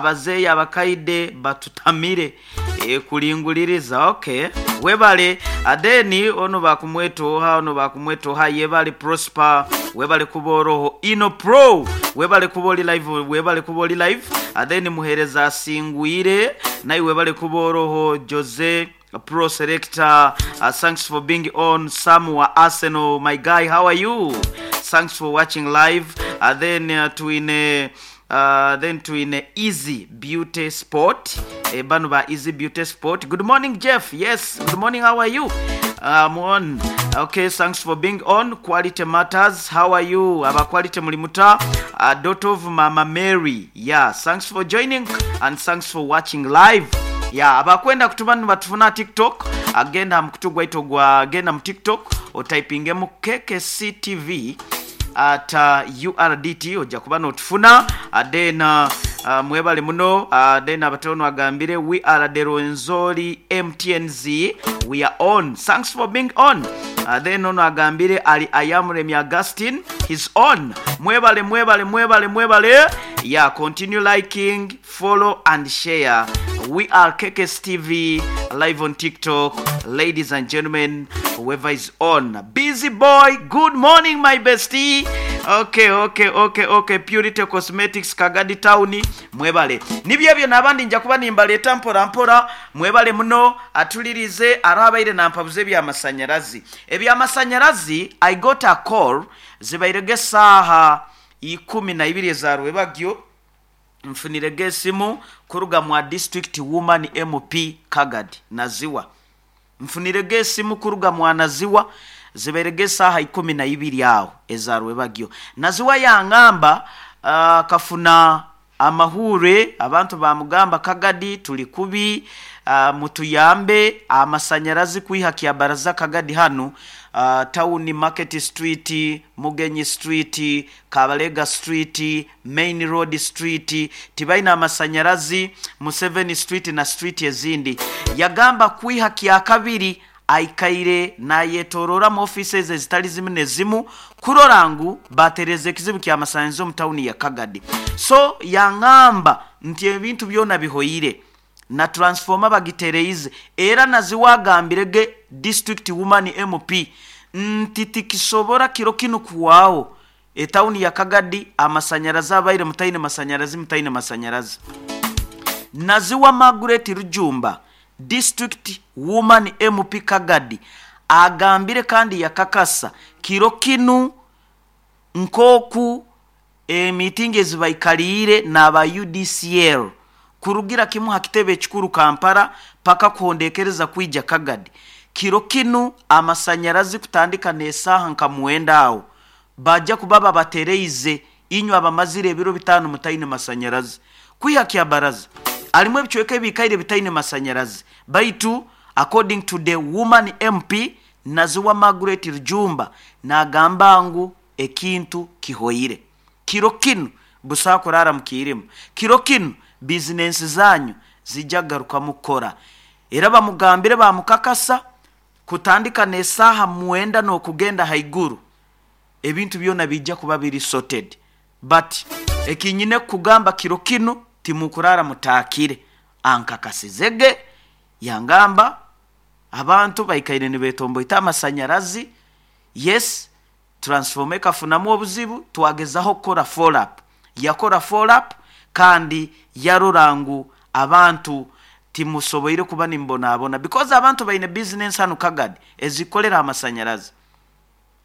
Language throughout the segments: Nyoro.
Abazeeyi abakaide batutamire kulinguliriza okay webale then ono bakumweta oha ono bakumweta oha yebale Prosper webale kuba oroho Ino Pro webale kuba oli live webale kuba oli live then Muhereza Asingwire naiwe webale kuba oroho Jose Pro Selector thanks for being on Sam wa Arsenal my guy how are you thanks for watching live then twine Then twine Easy Beauty Sport, bano ba Easy Beauty Sport. Good morning Jeff, yes good morning how are you? Am on, ok thanks for being on. Quality Matters how are you? Aba Quality muli muta? Daughter of Mama Mary, yeah thanks for joining and thanks for watching live. Yeah abakwenda kutuba nibatufuna aha TikTok, genda aha mukutu gwaitu ogwa genda mu TikTok otaipingemu KKC TV at URDT oja kuba notufuna. Then mwebale muno. Then abatono agambire we are the Rwenzori MTNZ we are on thanks for being on. Then ono agambire ali Ayamuremye Augustine he's on. Mwebale mwebale mwebale mwebale yeah continue liking follow and share we are KKS TV live on TikTok ladies and gentlemen whoever is on busy boy good morning my bestie ok ok ok ok purity cosmetics kagadi town mwebale nibyo ebyo nabandi nja kuba nimbaleeta mpora mpora mwebale muno atulirize aroho abaire nampabuza ebyamasanyarazi ebyamasanyarazi i got a call zibairege esaaha ikumi naibiri eza rwebagyo Nfunirege esimu kuruga mwa District Woman MP Kagadi, Naziwa. Nfunirege esimu kuruga mwa Naziwa zibairege esaaha 12 aho eza rwebagyo. Naziwa yangamba akafuna amahuure abantu bamugamba Kagadi tuli kubi, mutuyambe amasanyarazi kwiha Kyabaraza Kagadi hanu Tawuni Market Street, Mugenyi Street, Kabalega Street, Main Road Street tibaine amasanyarazi, Museveni Street na street ezindi. Yagamba kwiha Kyakabiri aikaire nayetoroora mu offices ezitali zimu nezimu kurora ngu batereeza ekizibu ky'amasanyarazi omu tawuni ya Kagadi. So yangamba nti ebintu byona bihoire. na transformer bagitereize era Naziwa agambire ge District Woman MP nti tikisobora kiro kinu kuhwaho etawuni ya Kagadi amasanyarazi abaire mutaine masanyarazi mutaine masanyarazi. Naziwa Margaret Rujumba District Woman MP Kagadi agambire kandi yakakasa kiro kinu nkoku Emiitingi ezi baikaliire n'aba UDCL kurugira kimu ha kitebe ekikuru Kampala paka kuhondekereza kwija Kagadi. Kiro kinu amasanyarazi kutandika n'esaaha nka mwenda aho baja kuba babatereize inywe abamazire ebiro bitaano mutaine masanyarazi. Kwiha Kyabaraza alimu ebicweka ebiikaire bitaine masanyarazi baitu according to the woman MP Naziwa Margaret Rujumba nagamba ngu Ekintu kihoire. Kiro kinu busaho kuraara mu kiirima. Kiro kinu bizinensi zanyu ziija kugarukamu kukora. Era bamugambire baamukakasa kutandika n'esaaha mwenda n'okugenda haiguru ebintu byona biija kuba biri sorted. But eki nyine kukugamba kiro kinu timukuraara mutaakire. Ankakasizege yangamba abantu baikaire nibetomboita amasanyarazi, yes Transformer ekafunamu obuzibu twagezaho kukora follow up, yakora follow up kandi yarora ngu abantu timusoboire kuba nimubonabona because abantu baine business hanu Kagadi ezikukolera aha masanyarazi,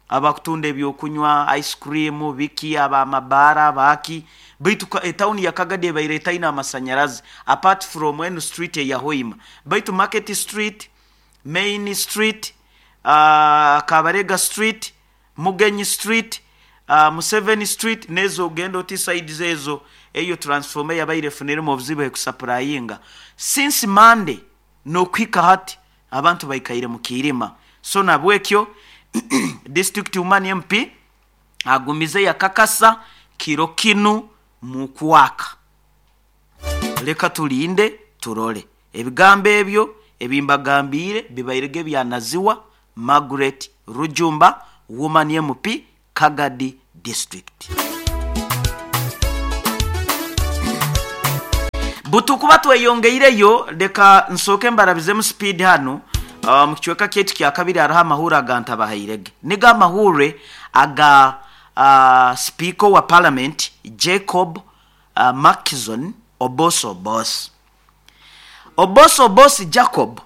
abakutunda ebyokunywa, ice cream, biki, abamabaara, abaaki baitu etawuni ya Kagadi ebaire etaine amasanyarazi apart from enu street eya Hoima baitu Market street, Main street, Kabarega Street, Mugenyi Street, Museveni Street n'ezo ogenda oti sides ezo eyo transformer eyabaire efuniremu obuzibu ekusapurayinga since Monday n'okuhika hati abantu baikaire mu kiirima so nabwekyo District Woman MP agumize yakakasa kiro kinu mukwaka. Leka tulinde turole. Ebigambo ebyo ebi mbagambiire bibairege bya Naziwa Margaret Rujumba, Woman MP, Kagadi District. Butukuba tweyongeireyo, leka nsooke mbarabizemu speed hanu. Mu kicweka kyaitu kyakabiri hariho amahurre agantabahairege. Nigo amahurre aga Sipiika owa Palamenti Jacob Markson Oboth Oboth. Oboth Oboth Jacob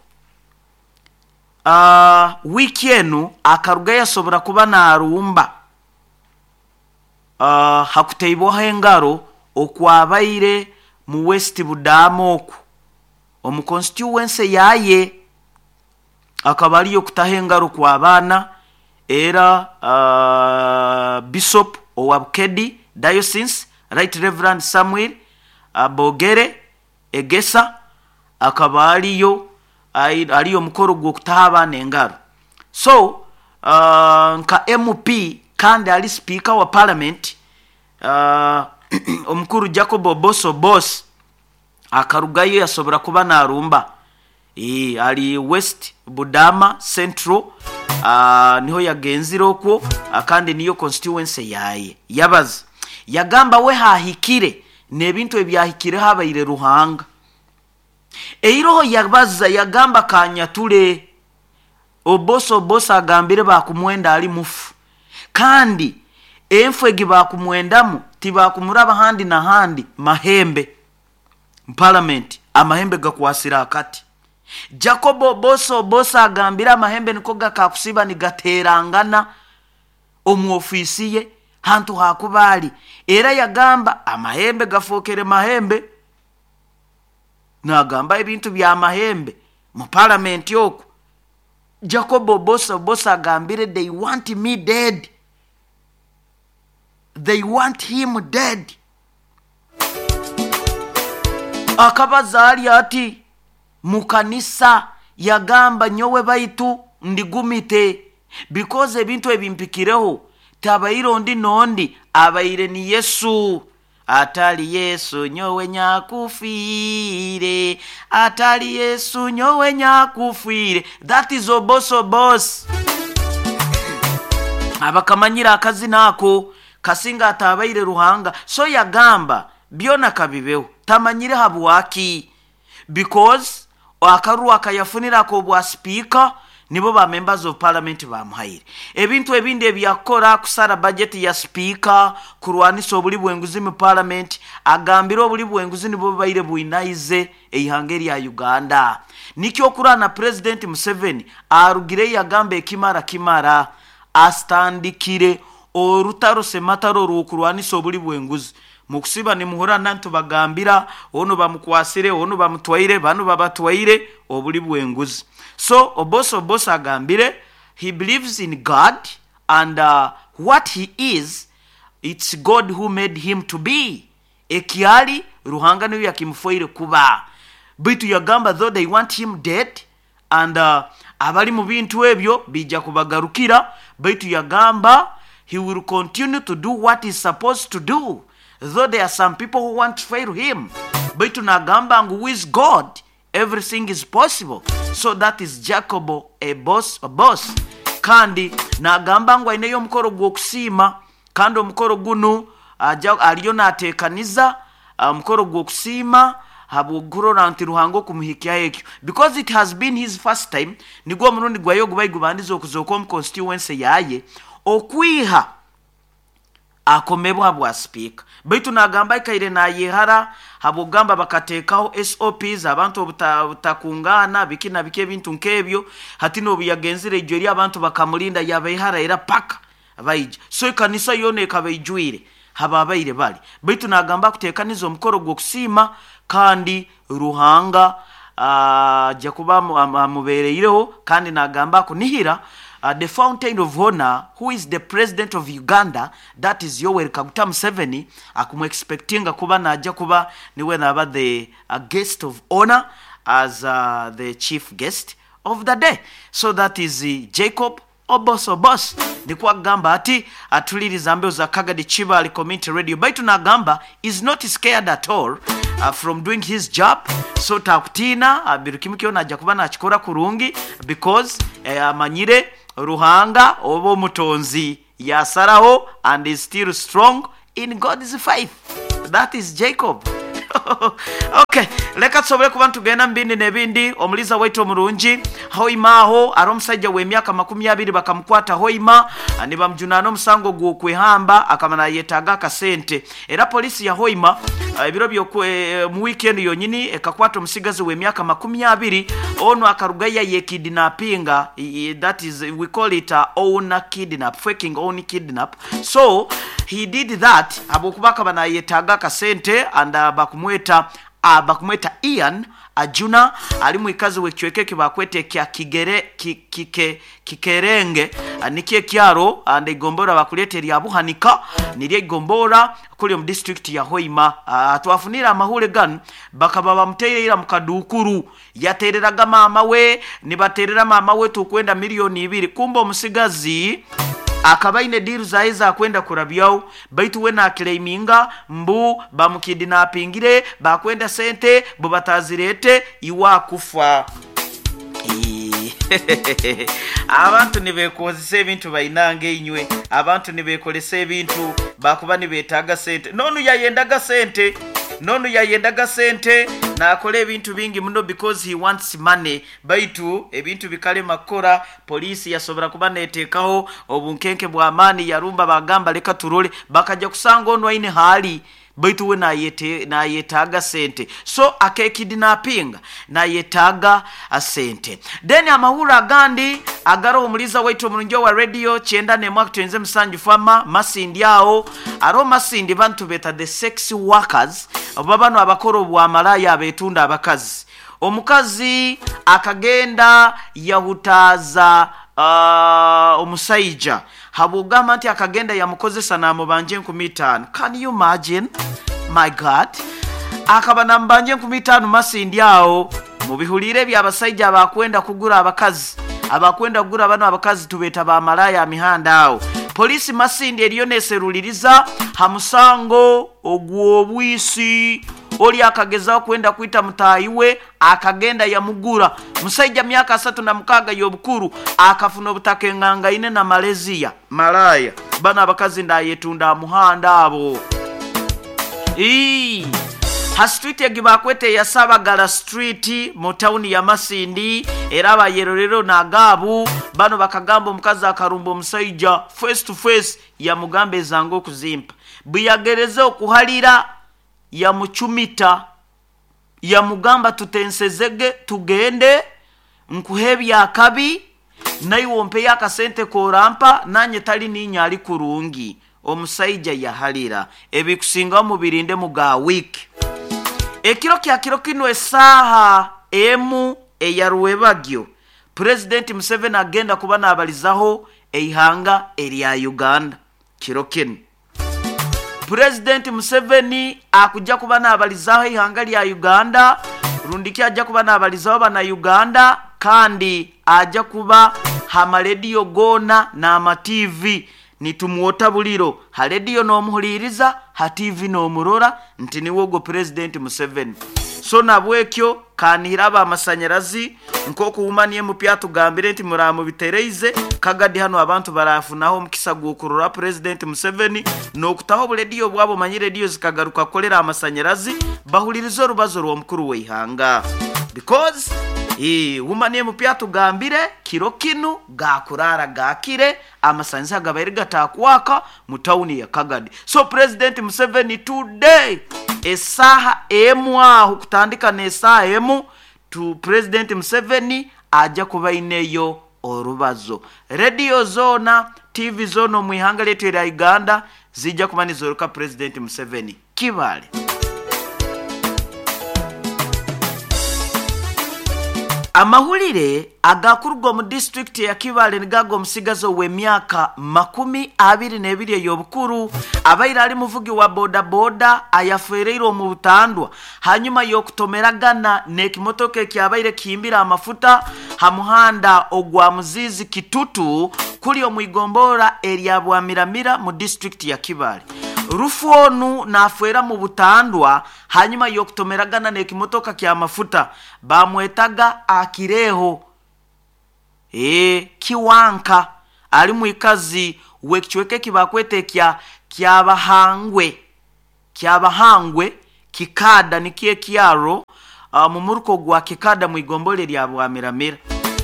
wiiki enu akarugayo yasobora kuba naarumba ha kuteibwaho engaro okwabaire mu West Budaama oku omu constituency yaaye. Akaba ariyo kutaho engaro kw'abaana era Bishop owa Bukedi Diocese Right Reverend Samuel Bogere Egesa akaba ariyo ariyo omukoro gw'okutaho abaana engaro. So nka MP kandi ari sipiika wa Palamenti, omukuru Jacob Oboth Oboth akarugayo yasobora kuba naarumba. Ari West Budama Central niho yagenzire okwo kandi niyo constituency yaaye. Yabaza yagamba we haahikire n'ebintu ebyahikireho abaire Ruhanga. Eiroho yabaza yagamba kanyature Oboth Oboth agambire baakumwenda ari mufu kandi enfu egi baakumwendamu tibaakumuraba handi na handi mahembe. Mu Palamenti amahembe gakwasire akati. Jacob Oboth Oboth agambire amahembe niko gakakusiba nigateerangana omu ofiisi ye hantu haakuba ari. Era yagamba amahembe gafookere mahembe. Naagamba ebintu bya mahembe mu Palamenti okwo. Jacob Oboth Oboth agambire they want me dead. They want him dead. Akabaza ari ati mu kanisa yagamba nyowe baitu ndigumite because ebintu ebimpikireho tabaire ondi n'ondi abaire ni Yesu. Atali Yesu nyowe nyakufiire, atali Yesu nyowe nyakufiire. That is Oboth Oboth. Abakamanyire akazina ako kasinga ataabaire Ruhanga. So yagamba byona kabibeho, tamanyire habwaki because akaruru akayafunire ak'obwa sipiika nibo ba members of parliament baamuhaire. Ebintu ebindi ebyakukora kusara bajeti ya sipiika, kurwanisa obuli bw'enguzi mu parliament, agambire obuli bw'enguzi nibwo bubaire bwinaize eihanga erya Uganda. Nikyo okurora na Purezidenti Museveni arugireyo yagamba ekimara kimara asitandikire orutaro semataro orw'okurwanisa obuli bw'enguzi. Mukusiba nimuhurra nantubagambira onu bamukwasire, onu bamutwaire, banu babatwaire, obuli bw'enguzi. So Oboth Oboth agambire he believes in God and what he is, it's God who made him to be. Eki ari, Ruhanga niwe yakimufoire kuba. Baitu yagamba though they want him dead and abali mu bintu ebyo biija kubagarukira, baitu yagamba he will continue to do what he's supposed to do though there are some people who want to fail him, baitu nagamba ngu with God everything is possible. So that is Jacob Oboth Oboth. Kandi nagamba ngu aineyo omukoro gw'okusiima kandi omukoro gunu aja ariyo nateekaniza omukoro gw'okusiima habw'okurora nti Ruhanga okumuhikyaho ekyo because it has been his first time, nigwo omurundi gwaye ogubaire gubandize okuzooka omu constituency yaaye okwiha akomebwa habwa sipiika. Baitu nagamba aikaire nayehara habw'okugamba bakateekaho SOPs abantu obutakungaana biki na biki ebintu nk'ebyo. Hati n'obuyagenzire ijo eri abantu bakamulinda yabehara era paka baija. So ekanisa yoona ekaba eijwire hababaire bari. Baitu nagamba akuteekaniza omukoro gw'okusiima kandi Ruhanga aja kuba amubereireho kandi nagamba akunihira the fountain of honor who is the president of Uganda that is Yoweri Kaguta Museveni akumu expectinga kuba naja kuba niwe naba the guest of honor as the chief guest of the day. So that is Jacob Oboth Oboth nikwo akugamba ati atuliriza mbeho za Kagadi Kibaale Community Radio baitu nagamba is not scared at all from doing his job so takutiina buri kimwe kyona aja kuba nakikora kurungi because amanyire Ruhanga oba omutonzi yasaraho and is still strong in God's faith. That is Jacob. Okay, leka tusobole kuba nitugenda mu bindi n'ebindi. Omuliza waitu omurungi Hoima aho ari omusajja w'emyaka 20 bakamukwata Hoima nibamujunaana omusango gw'okwehamba, akaba nayetaaga akasente. Era polisi ya Hoima ebiro mu wiiki enu yonyini ekakwata omusigazi w'emyaka 20. Onu akarugayo yayekidnapinga, that is we call it owner kidnap, faking own kidnap. So he did that habwokuba akaba nayetaaga akasente, and bakumweta Ian Ajuna, ali mwikazi w'ekicweka eki bakweta ekya Kigere, Kikerenge, nikyo ekyaro, and eigombora bakuleeta erya Buhanika, niryo eigombora kuli omu district ya Hoima. Twafunire amahule ganu, bakaba bamuteire ira mu kaduukuru, yatereraga maama we, nibaterera maama we tukwenda 2 miliyoni. Kumbe omusigazi akaba aine deal zaye zakwenda kurabyaho, baitu we nakiclaiminga mbu bamukidnapingire, bakwenda sente, bo batazirete iwakufa. Abantu nibekozesa ebintu bainanga inywe, abantu nibekolesa ebintu bakuba nibetaaga sente. Nonu yayendaga sente, nonu yayendaga sente, nakola ebintu bingi muno because he wants money, baitu ebintu bikalema kukora. Poliisi yasobora kuba neteekaho obunkenke bw'amaani, yarumba, bagamba leka turole, bakajja kusanga onu aine haali, baitu we nayetaaga sente, so akekidnapinga nayetaaga sente. Then amahuri agandi agaroho, omuliza waitu omurungi wa radio 91.7 fama Masindi aho, aroho Masindi bantu beta the sex workers, oba bano abakora obwamalaya abetunda abakazi. Omukazi akagenda yahutaaza omusaija habwogamba nti akagenda yamukozesa namubanja 5,000. Can you imagine? My God, akaba namubanja 5,000 Masindi aho. Mubihulire ebyabasaija abakwenda kugura abakazi, abakwenda kugura bano abakazi tubeta bamalaya mihanda aho. Polisi Masindi eriyo neseruliriza ha musango ogw'obwisi. Oli akagezaho kwenda kwita mutaahi we, akagenda yamugura. Musaija myaka 36 y'obukuru akafuna obutaka engangaine na Malaysia. Malaya bano abakazi ndayetunda muhanda abo. Ii. Ha street egi bakwete ya Sabagala Street mu tawuni ya Masindi. Era abayerorero nagaabu bano bakagamba omukazi akarumba omusaija face to face, yamugamba ezanga okuzimpa, bwe okuhalira yamucumita, yamugamba tutensezege tugende nkuhe ebyakabi naiwe ompeyo akasente korampa, nanye tali ninya ali kurungi. Omusaija yahalira. Ebikusingaho mubirinde muga wiiki. Ekiro kya kiro kino esaaha 1 eya rwebagyo, Purezidenti Museveni agenda kuba nabalizaho eihanga erya Uganda. Kiro kino Purezidenti Museveni akujja kuba nabalizaho eihanga lya Uganda, rundiki ajja kuba nabalizaho bana Uganda, kandi ajja kuba hamarediyo goona n'ama TV. Nitumwota buliro ha rediyo n'omuhuliriza, ha TV n'omurora nti niwe ogwo Purezidenti Museveni. So nabwekyo kanihira abamasanyarazi nk'okuwumani emupya tugambire nti muramubitereize Kagadi hano, abantu barafunaho omukisa gw'okurora Purezidenti Museveni n'okutaho oburediyo bwabo. Manyi rediyo zikagaruka kukolera amasanyarazi, bahulirize orubazo rw'omukuru w'eihanga, because wumani emupya tugambire kiro kinu gakurara gakire amasanyarazi agabaire gatakwaka mu tawuni ya Kagadi. So President Museveni today esaaha 1 aho, kutandika n'esaaha 1 tu, President Museveni ajja kuba aineyo orubazo. Rediyo zoona, TV zoona omu ihanga lyaitu erya Uganda zijja kuba nizoroka President Museveni. Kibale amahulire agakuruga omu disitulikiti ya Kibale nigaga omusigazi ow'emyaka 22 ey'obukuru abaire ali muvugi wa bodaboda ayafereire omu butandwa hanyuma y'okutomeragana n'ekimotoka ekyabaire kihimbire amafuta ha muhanda ogwa Muzizi Kitutu kuli omu igombora erya Bwamiramira mu disitulikiti ya Kibale. Rufu onu nafeera mu butandwa hanyuma y'okutomeragana n'ekimotoka ky'amafuta, bamwetaga Akireho Kiwanka, ali mwikazi w'ekicweka eki bakweta ekya Kyabahangwe, Kyabahangwe. Kikada nikyo ekyaro mu muruka ogwa Kikada mu igombole lya Bwamiramira.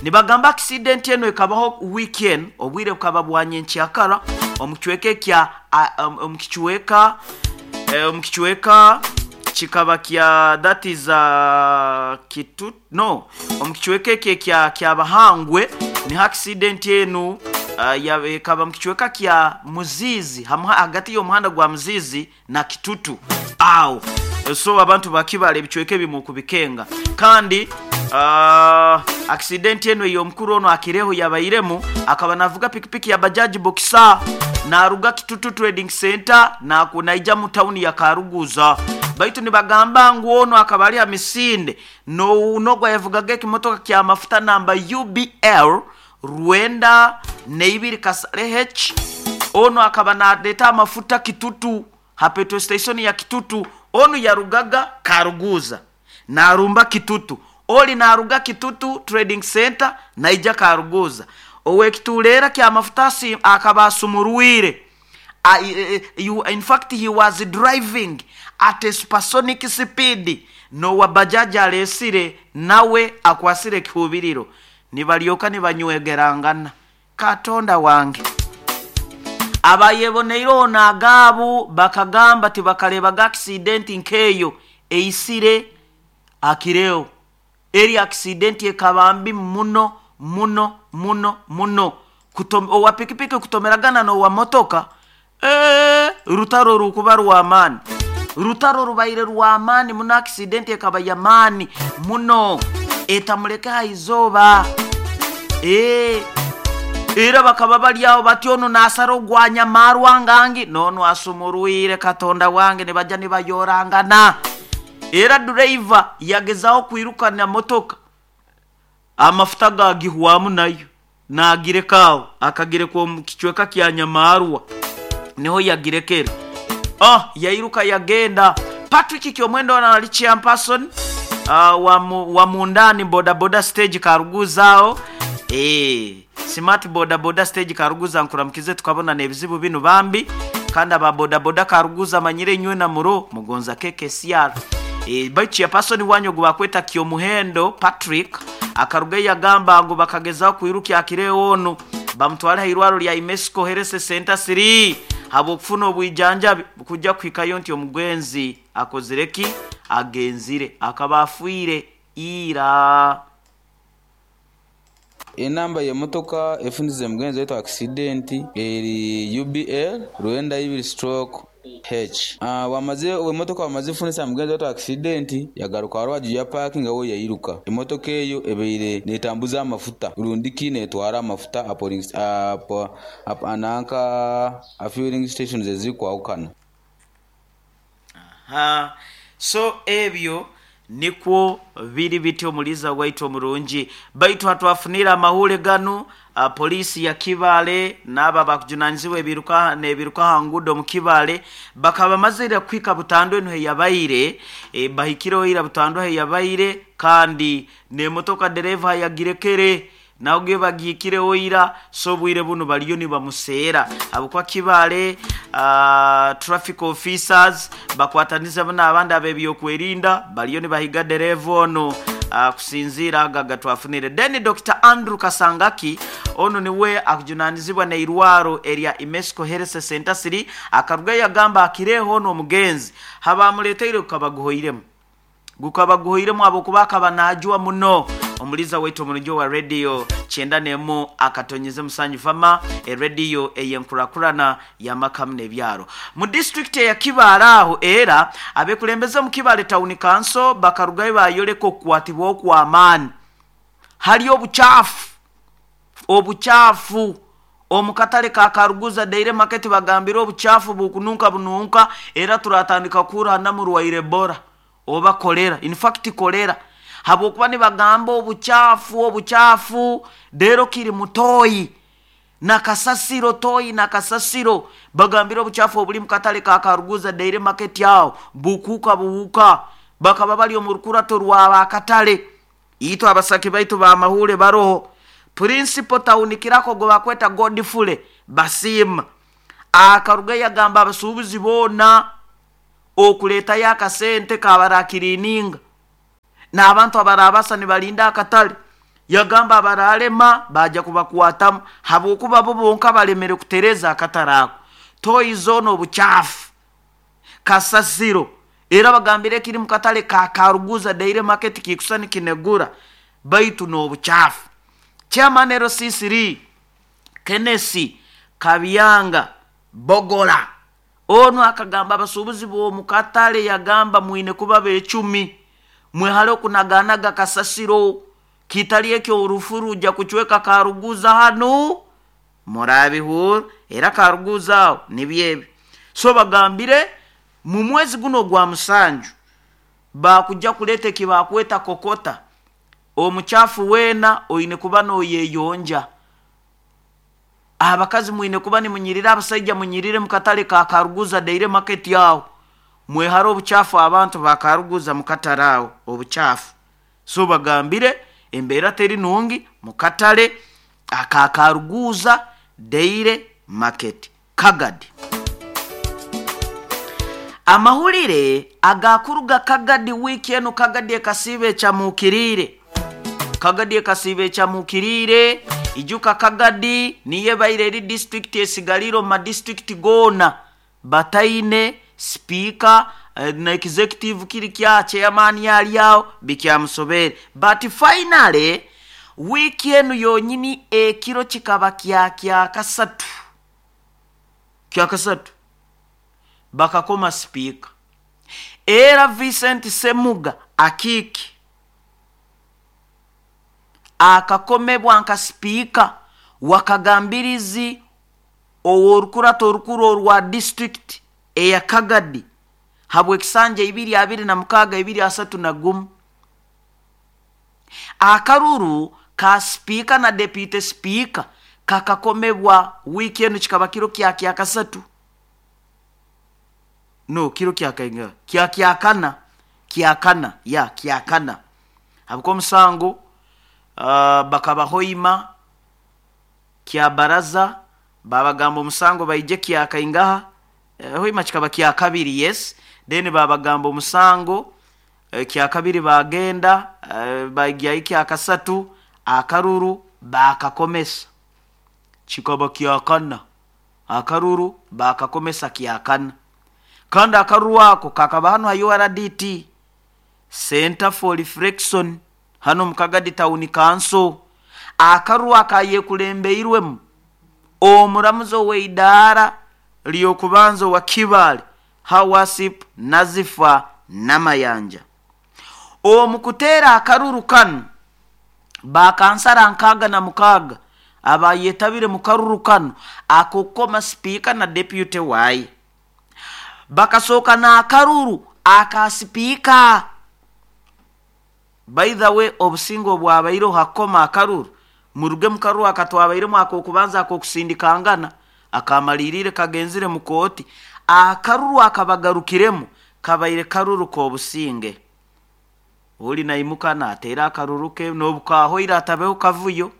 Nibagamba accident eno ekabaho weekend, obwire bukaba bwa nyenkyakara omu kicweka ekya omu kicweka omu kicweka kikaba kya that is Kitu no omu kicweka eki ekya Kyabahangwe niho accident enu ekaba mu kicweka kya Muziizi hagati y'omuhanda gwa Muziizi na Kitutu aho. So abantu ba Kibale ebicweka ebimu okubikenga. Kandi accident enu ey'omukuru onu akireho yabairemu akaba navuga pikipiki ya Bajaj Boxer naruga Kitutu Trading Center naija mu tawuni ya Karuguza. Baitu nibagamba ngu onu akaba ali ha misinde n'ogu ayavugaga ekimotoka ky'amafuta namba UBL 92 Kasale H onu akaba naleeta amafuta Kitutu ha petrol station ya Kitutu. Onu yarugaga Karuguza narumba Kitutu, oli naruga Kitutu Trading Center naija Karuguza. Ow'ekituleera ky'amafuta akaba asumurwire. In fact he was driving at a supersonic speed. N'owa Bajaj aleesire nawe akwasire ekihubiriro nibalyoka nibanywegerangana. Katonda wange! Abayeboneireho n'agaabu bakagamba tibakareebaga accident nk'eyo eisire akireo. Eri accident ekaba mbi muno muno muno muno. Owa pikipiki kutomeragana n'owa motoka, eeh rutaro rukuba rw'amaani. Rutaro rubaire rw'amaani muno, accident ekaba y'amaani muno etamuleke ha izooba. Eeh era bakaba bari aho bati onu naasara ogwa Nyamarwa ngangi n'onu asumurwire Katonda wange nibaja nibayorangana. Era dureiva yagezaho kwirukana motoka amafuta gagihwamu nayo naagireka aho akagireka omu kicweka kya Nyamarwa niho yagirekere. Oh yairuka yagenda. Patrick Kyomwendo ono ali chairperson wa Mundani boda boda stage Karuguza aho. Eeh Smart boda boda stage Karuguza nkuramukize tukabona n'ebizibu binu bambi. Kandi aba boda boda Karuguza manyire inywe na muro mugonza KKCR. Baitu chairperson wanyu ogu bakweta Kyomuhendo Patrick akaruga yagamba ngu bakagezaho kwirukya akireo onu bamutwale ha irwaro lya Imesco Health Center 3 habw'okufuna obwijanjabi kujja kuhikayo nti omugenzi akozire ki? Agenzire. Akaba afiire ira. Enamba y'emotoka efunize mugenzi waitu akisidenti eri UBL 92 stroke H. Bwamaze emotoka bwamaze funisa mugenzi waitu akisidenti yagaruka aharubaju yapakinga we yairuka. Emotoka eyo ebaire netambuza amafuta rundiki netwara amafuta nanka aha fueling stations ezirikwahukana. Aha. So ebyo nikwo biri bityo omuliiza waitu omurungi. Baitu hatwafunire amahurire ganu, poliisi ya Kibaale n'abo abakujunanizibwa ebiruka n'ebiruka aha nguudo omu Kibaale bakaba bamazire kuhika butandu enu heyabaire, bahikireho ira butandu heyabaire kandi n'emotoka dereeva yagirekere nabwo bagihikireho ira, so obwire bunu bariyo nibamuseera habwokuba Kibaale traffic officers bakwatanize n'abandi ab'ebyokwerinda bariyo nibahiga dereeva onu kusinziira ago agatwafunire. Then Dr. Andrew Kasangaki onu niwe akujunanizibwa n'eirwaro erya Imesco Health Center 3 akaruga yagamba akireho onu omugenzi habamuleteire gukaba guhoiremu. Gukaba guhoiremu habwokuba akaba naajwa muno. Omuliiza waitu omurungi owa rediyo 91 akatonyeze musanju fama erediyo ey'enkurakurana y'amaka hamu n'ebyaro. Mu disitulikiti eya Kibaale aho era abekulembeze omu Kibaale Town Council bakarugayo bayoleka okukwatibwaho okw'amaani hali obukyafu obukyafu omu katale ka Karuguza Daily Market bagambire obukyafu bukununka bununka era turatandika kuhurra namurwaire Ebola oba kolera, in fact kolera habwokuba nibagamba obukyafu obukyafu reero kiri mutoyi na kasasiro toyi na kasasiro bagambire obukyafu oburi mu katale ka Karuguza Daily Market aho bukuuka buhuuka bakaba bari omu rukurato rw'abakatale. Itwe abasaki baitu b'amahuure baroho Principal Town Kirako ogu bakweta Godfrey Basiima akaruga yagamba abasuubuzi boona. Okuleetayo akasente kabarakirininga n'abantu abarabasa nibalinda akatale. Yagamba abaralema baja kubakwatamu habwokuba bo bonka balemere kutereza akatale ako. Toyi zoona obucaafu, kasasiro. Era bagambire ekiri mu katale ka Karuguza Daily Market kikusa nikinegura baitu n'obucaafu. Chairman LC3 Kenneth Kabyanga Bogola onu akagamba abasuubuzi b'omu katale, yagamba mwine kuba becumi, mwehale okunaganaga kasasiro, kitali ekyo orufu rujja kucweka Karuguza hanu murabihura. Era Karuguza aho nibyo ebyo. So bagambire mu mwezi guno ogwa 7 bakujja kuleta ekibakweta kokota. Omuchafu weena oine kuba noyeyonja. Abakazi mwine kuba nimunyirira, abasaija munyirire mu katale ka Karuguza Daily Market aho, mwehare obuchafu. Abantu ba Karuguza mu katale aho obuchafu. So bagambire embeera teri nungi mu katale aka Karuguza Daily Market Kagadi. Amahulire agakuruga Kagadi wiiki enu, Kagadi ekasiiba ekyamukiriire. Kagadi ekasiiba ekyamukiriire. Ijuka Kagadi niyo ebaire eri disitulikiti esigalire omu madisitulikiti goona bataine sipiika na executive kiri kya chairman ali aho bikyamusobere. But finally wiiki enu yonyini ekiro kikaba kya kyakasatu, kyakasatu bakakoma sipiika. Era Vincent Semuga Akiiki akakomebwa nka sipiika wakagambirizi ow'orukurato orukuru orwa disitulikiti eya Kagadi habw'ekisanja 2026 2031. Akaruru ka sipiika na deputy sipiika kakakomebwa wiiki enu, kikaba kiro kya kyakasatu, no kiro kyakainga kya kyakana, kyakana ya kyakana, habwokuba omusango bakabahoima kya baraza, babagamba omusango baije kyakaingaha. Hoima kikaba kyakabiri, yes, then babagamba omusango kyakabiri, bagenda baigyayo kyakasatu, akaruru bakakomesa kikaba kyakana, akaruru bakakomesa kyakana. Kandi akaruru ako kakaba hanu ha URDT Center for Reflection hano mu Kagadi Town Council. Akaruru akayekulembeirwemu omuramuzi ow'eidaara ly'okubanza owa Kibaale, Hawasip Nazifa Namayanja. Omu kuteera akaruru kanu bakansara 66 abayetabire mu karuru kanu akokukoma sipiika na deputy waaye, bakasooka n'akaruru aka sipiika. By the way, obusinge obwabaireho hakukoma akaruru, muruge mu karuru akatwabairemu ak'okubanza ak'okusindikangana akamaliriire kagenzire mu kooti, akaruru akabagarukiremu kabaire karuru k'obusinge. Oli naimuka nateera akaruru ke n'obukahoire atabeho kavuyo,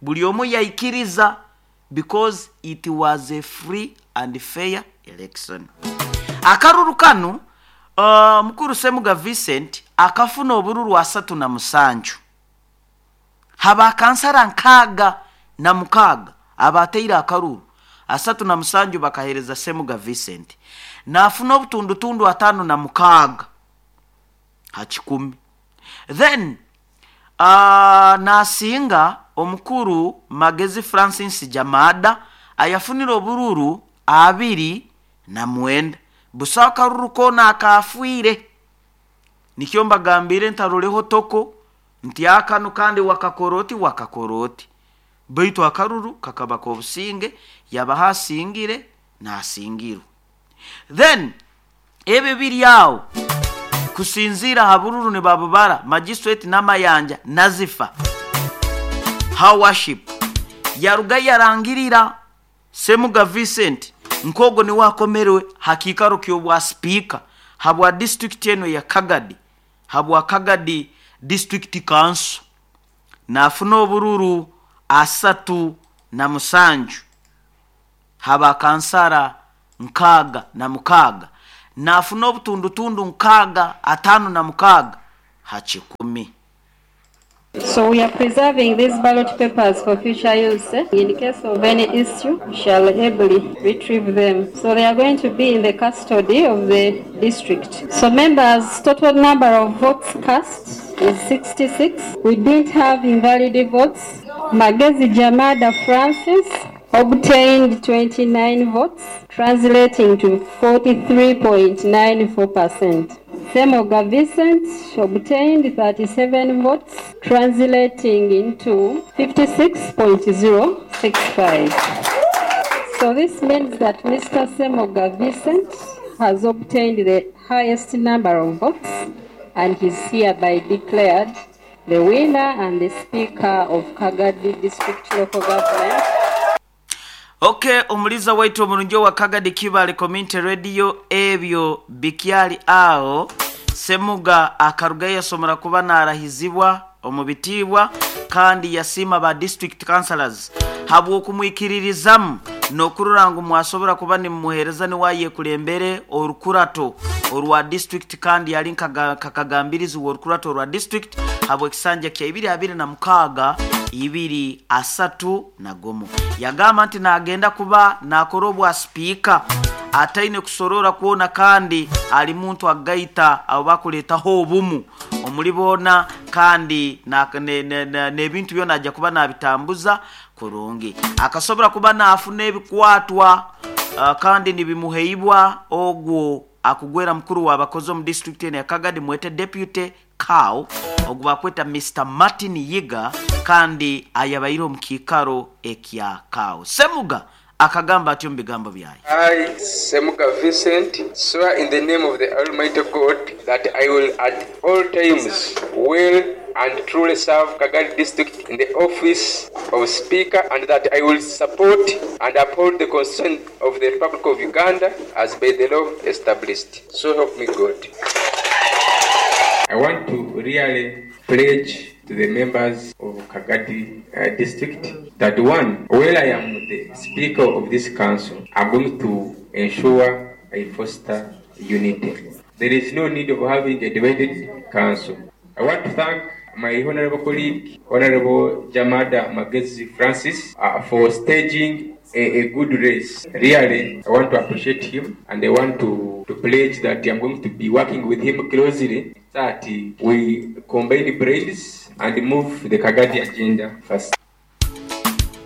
buli omu yaikiriza because it was a free and fair election. Akaruru kanu mukuru Semuga Vincent akafuna obururu 37 haba kansara 66 abateire akaruru, 37 bakahereza Semuga Vincent, nafuna obutundutundu 56 ha 100. Then nasinga omukuru Magezi Francis Jamada ayafunire obururu 29. Busa akaruru koona akafiire. Nikyo mbagambire ntaroleho toko nti akanu kandi wakakoroti wakakoroti, baitu akaruru kakaba k'obusinge, yabaha asingire nasingirwe. Then ebyo biri aho kusinziira ha bururu nibabubara. Magistrate Namayanja Nazifa her worship yaruga yarangirira Semuga Vincent nkogo niwe akomerwe ha kiikaro ky'obwa sipiika habwa disitulikiti eno ya Kagadi, habwa Kagadi District Council, nafuna obururu 37 haba kansara 66. Naafuna obutundutundu nkaaga ataano na mukaaga ha kikumi. So we are preserving these ballot papers for future use. In case of any issue, we shall ably retrieve them. So they are going to be in the custody of the district. So members, total number of votes cast is 66. We didn't have invalid votes. Magezi Jamada Francis obtained 29 votes, translating to 43.94%. Semoga Vincent obtained 37 votes, translating into 56.065. So this means that Mr. Semoga Vincent has obtained the highest number of votes and is hereby declared the winner and the Speaker of Kagadi District Local Government. Ok, omuliza waitu omurungi owa Kagadi Kibale Community Radio, ebyo bikyali aho. Semuga akarugayo yasomera kuba narahizibwa omu bitiibwa, kandi yasiima ba district councillors habw'okumwikiririzamu n'okurora ngu mwasobora kuba nimumuheereza niwe ayekulembere orukurato orwa district, kandi yali nkakagambirizi w'orukurato orwa district habw'ekisanja kya ibiri abiri na mukaaga ibiri asatu na gumu. Yagamba nti nagenda kuba nakora obwa sipiika ataine kusorora kwona, kandi ali muntu agaita abo bakuleetaho obumu omuli boona, kandi n'ebintu byona ajja kuba nabitambuza kurungi. Akasobora kuba naafuna ebikwatwa kandi nibimuheibwa ogwo akugwera mukuru w'abakozi omu district eno ya Kagadi, mwete deputy cow ogwo bakweta Mr Martin Yiga, kandi ayabaire omu kiikaro ekya cow. Semuga akagamba atyo mu bigambo byaye. I, Semuga Vincent, swear in the name of the Almighty God that I will at all times will and truly serve Kagadi District in the office of Speaker, and that I will support and uphold the Constitution of the Republic of Uganda as by the law established. So help me God. I want to really pledge to the members of Kagadi District that one, while I am the Speaker of this council, I'm going to ensure I foster unity. There is no need of having a divided council. I want to thank my honorable colleague, Honorable Jamada Magezi Francis, for staging a good race. Really, I want to appreciate him, and I want to pledge that I'm going to be working with him closely so that we combine brains and move the Kagadi agenda first.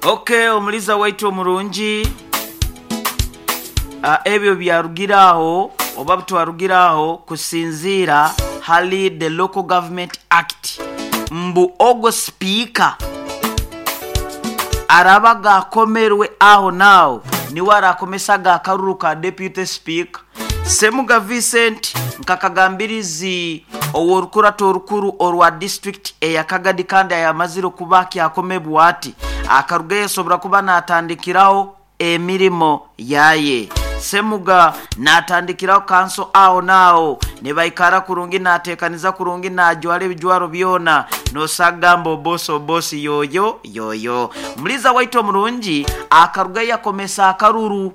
Okay, omuliza waitu omurungi, ebyo byarugiraho oba butwarugiraho kusinziira hali the Local Government Act, mbu ogwo sipiika araba gakomerwe aho naaho niwe arakomesa akaruru ka deputy speaker. Semuga Vincent nkakagambirizi ow'orukurato orukuru orwa district eya Kagadi, kandi ayamazire kuba kyakomebwa ati akarugayo asobora kuba natandikiraho emirimo yaye. Semuga natandikiraho kanso aho naaho nibaikara kurungi, natekaniza kurungi, najwara ebijwaro byona, nosagamba obosi obosi yoyo yoyo. Muliza waitu omurungi akarugayo yakomesa akaruru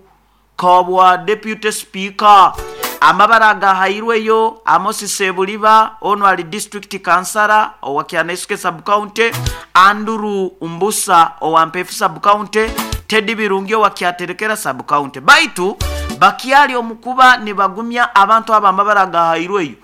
kabwa deputy speaker. Amabara agahairweyo Amos Sebuliba, ono ali district councillor owa Kyanaisuke sub county, Andrew Mbusa owa Mpefu sub county, Teddy Birungi owa Kyaterekera sub county. Baitu bakyali omukuba nibagumya abantu aba amabara agahairweyo.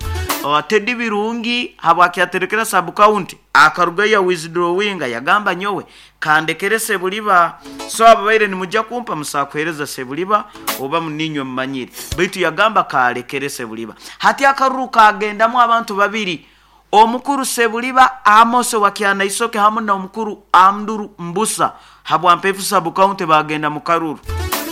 Teddy Birungi habwa Kyaterekera sub county akarugayo withdrawinga, yagamba nyowe kandekere Sebuliba, so ababaire nimujja kumpa musakuhereza Sebuliba oba muninywe mumanyire, baitu yagamba kalekere Sebuliba. Hati akaruru kagendamu abantu babiri, omukuru Sebuliba Amos wa Kyanaisoke hamu na omukuru Andrew Mbusa habwa Mpefu sub county bagenda mu karuru.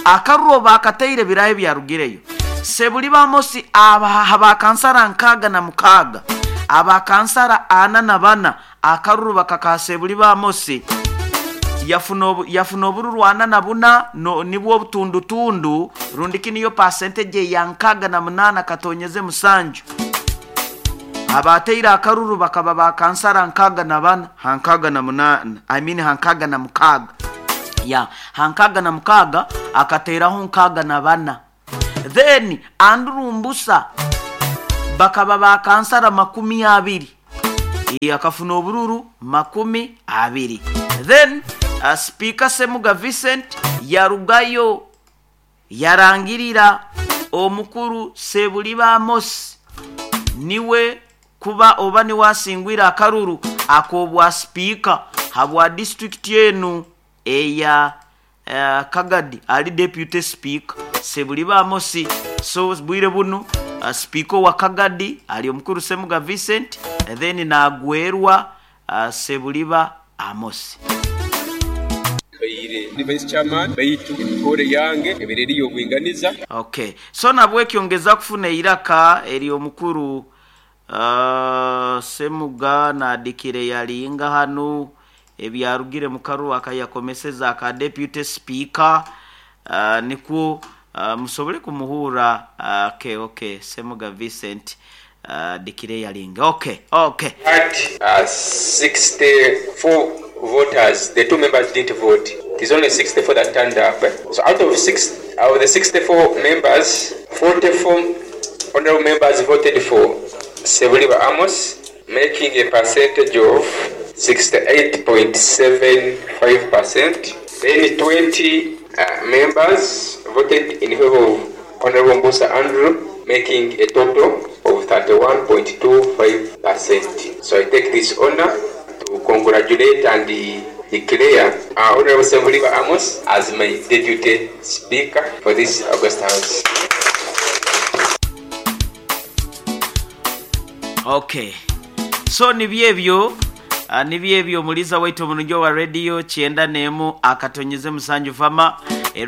Akaruru bakateire birahe byarugireyo. Sebuliba Amos abakansara 66, abakansara 44, akaruru bakaka Sebuliba Amos yafuna obururu 44 no, nibwo obutundutundu rundiki niyo percentage ya 68.7. Abateire akaruru bakaba bakansara 64 68, I mean 66 ya 66 akateraho 64. Then Andrew Mbusa bakaba bakansara 20, akafuna obururu 20. Then Speaker Semuga Vincent yarugayo yarangirira omukuru Sebuliba Amos niwe kuba oba niwasingwira akaruru akobwa speaker habwa district yenu eya Kagadi, ali deputy speaker Sebuliba Amos. So bwire bunu speaker wa Kagadi ali omukuru Semuga Vincent, then nagwerwa Sebuliba Amos. Baire ni vice chairman baitu emikore yange ebereri y'obwinganiza. Okay, so nabwekyongeza kufuna iraka eri omukuru Semuga nadikire yalinga hanu ebyarugire mukaru akayakomeseza aka deputy speaker, nikwo musobole kumuhura. Okay, okay, Semuga Vincent dikire yalinga. Okay, okay. At 64 voters, the two members didn't vote. It is only 64 that turned up. So out of the 64 members, 44 honorable members voted for Sebuliba Amos, making a percentage of 68.75%. Then 20 members voted in favor of Honorable Mbusa Andrew, making a total of 31.25%. So I take this honor to congratulate and declare Honorable Sebuliba Amos as my deputy speaker for this August House. Okay, so nibyebyo nibyebyo muliza waitu omununjo wa radio 91.7 fama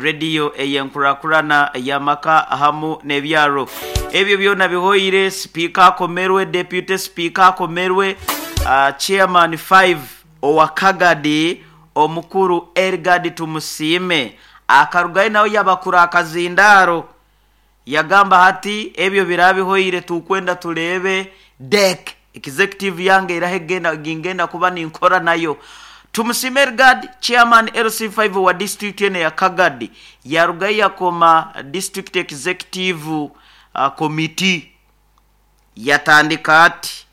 radio eyenkurakurana yamaka hamu nebyaro ebyo byona bihoire. Speaker akomerwe, deputy speaker akomerwe, chairman 5 owa Kagadi omukuru Ergad Tumusime akarugayo nawe yabakura akazindaro yagamba hati ebyo birabihoire tukwenda tulebe dek executive yange irahegenda gingenda kuba ninkora nayo. Tumusime Ergad chairman LC5 wa district ene ya Kagadi yarugayo yakoma district executive committee yatandika ati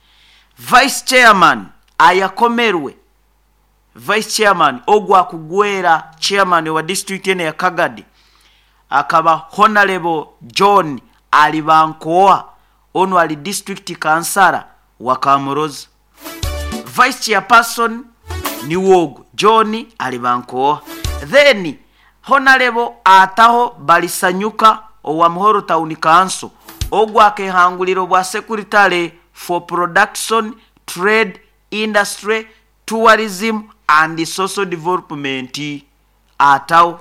vice chairman ayakomerwe, vice chairman ogwa kugwera chairman wa district ene ya Kagadi akaba Honorable John Alibankoa, ono ali district kansara wa Kamuroza. Vice chairperson ni wogo John Alibankoa. Then Honorable Ataho Balisanyuka owa Muhoro Town Council ogwa kehanguliro bwa secretary for production, trade, industry, tourism and social development ataho.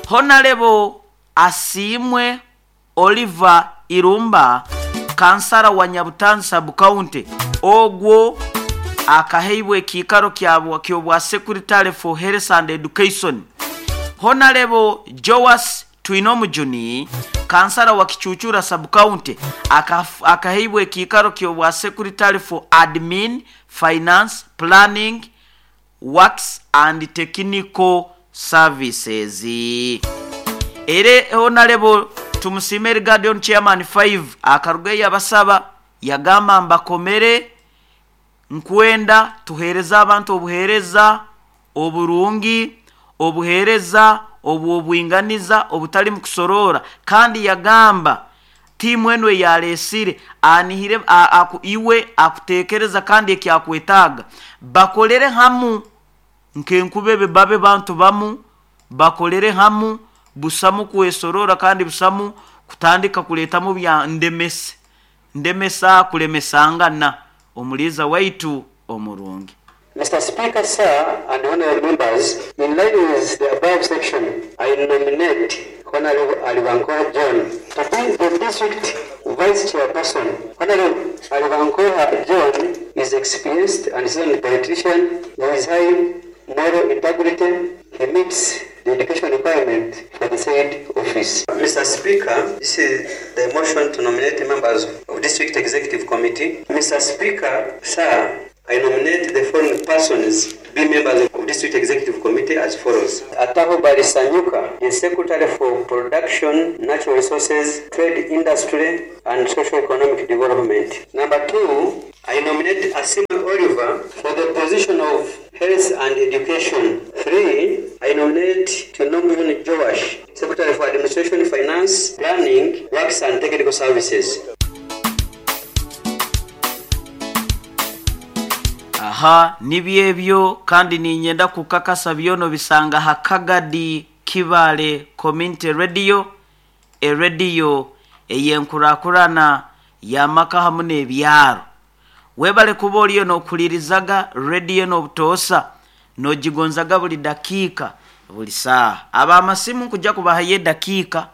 Honorable Asimwe Oliver Irumba kansara wa Nyabutanzi sub county ogwo akaheibwe kikaro kyobwa secretary for health and education. Honorable Joas Twinomujuni kansara wa Kichuchura sub county akaheibwe kikaro kyobwa secretary for admin, finance, planning, works and technical services. Ere Honorable Tumusime Guardian chairman 5 akarugayo yabasaba yagamba mbakomere nkwenda tuhereza abantu obuhereza oburungi, obuhereza obwinganiza obutali mukusorora, kandi yagamba timu enwe yalesire anihire iwe akutekereza kandi ekyakwetaga bakolere hamu nkenkubebe babe bantu bamu bakolere hamu busamu kwesorora kandi busamu kutandika kuletamu bya ndemese ndemesa kulemesangana omuliza waitu omurungi. Mr. Speaker, sir, and honorable members, in line with the above section, I nominate Honorable Alibankoha John to be the district vice chairperson. Honorable Alibankoha John is experienced and seasoned politician with high moral integrity. He meets the education requirement for the said office. Mr. Speaker, this is the motion to nominate members of District Executive Committee. Mr. Speaker, sir, I nominate the following persons be members of District Executive Committee as follows. Ataho Balisanyuka is Secretary for Production, Natural Resources, Trade Industry and Socio-Economic Development. Number 2, I nominate Asima Oliver for the position of Health and Education. 3, I nominate Twinomujuni Joash, Secretary for Administration, Finance, Planning, Works and Technical Services. Aha nibyo ebyo kandi niinyenda kukakasa byona obisanga ha Kagadi Kibaale Community Radio, erediyo ey'enkurakurana y'amaka hamu n'ebyaro. Webale kuba oriyo n'okuhulirizaga rediyo n'obutoosa, n'ogigonzaga buli dakiika, buli saaha. Ab'amasimu nkujja kubahayo edakiika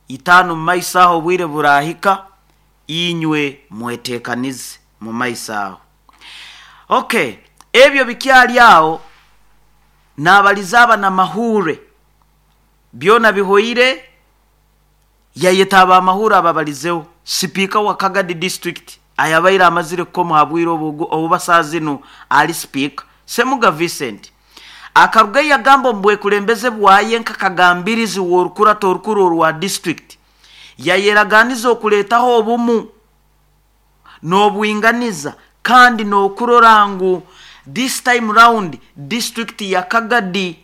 itaano mu maiso aho obwire buraahika, inywe mweteekanize mu maiso aho. Okay, ebyo bikyali aho, naabaliza abanamahuure, byona bihoire, yayeta abamahuure ababalizeho. Sipiika wa Kagadi District ayabaire amazire kukoma ha bwire obu obu saaha zinu ali sipiika, Ssemuga Vincent, akarugayo yagamba omu bwekulembeze bwaye nk'akagambirizi w'orukurato orukuru orwa district, yayeraganiza okuleetaho obumu n'obwinganiza kandi n'okurora ngu this time round district ya Kagadi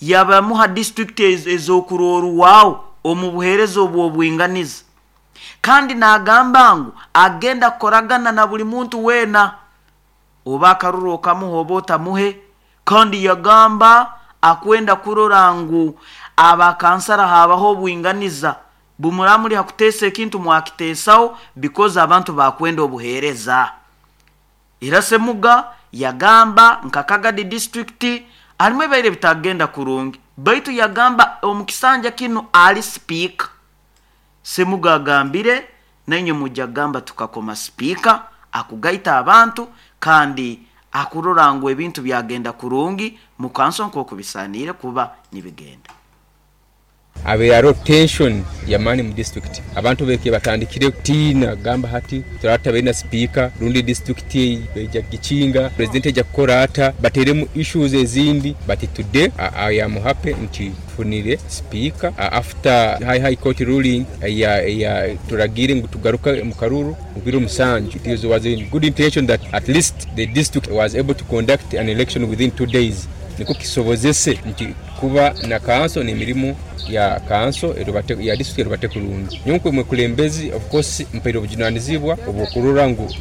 yabamu ha district ez'okurorwaho omu buheereza obw'obwinganiza. Kandi n'agamba ngu agenda kukoragana na buli muntu weena oba akaruru okamuha oba otamuhe, kandi yagamba akwenda kurora ngu abakansara habaho obwinganiza, bumuraba muri ha kuteesa ekintu mwakiteesaho because abantu bakwenda obuheereza. Era Ssemuga yagamba nka Kagadi District harimu ebibaire bitagenda kurungi, baitu yagamba omu kisanja kinu ali sipiika. Ssemuga agambire nainywe mwija kugamba tukakoma sipiika akugaita abantu kandi akurora ngu ebintu byagenda kurungi mu kanso nk'oku bisaaniire kuba nibigenda. Habaire haroho tension y'amaani mu district. Abantu beke batandikire kutiina kugamba hati turaba tutabaire na sipiika rundi district baija kugikinga, president aija kukora ata, bateremu issues ezindi but today I am happy nti tufunire sipiika after high court ruling eya turagiire ngu tugaruke omu karuru mu biro musanju. It was in good intention that at least the district was able to conduct an election within 2 days nikwo kisobozese nti kuba na kanso n'emirimo ya kanso erubate ya district erubate kurungi. Nyowe nk'omwekulembezi of course mpaire obujunanizibwa obw'okurora ngu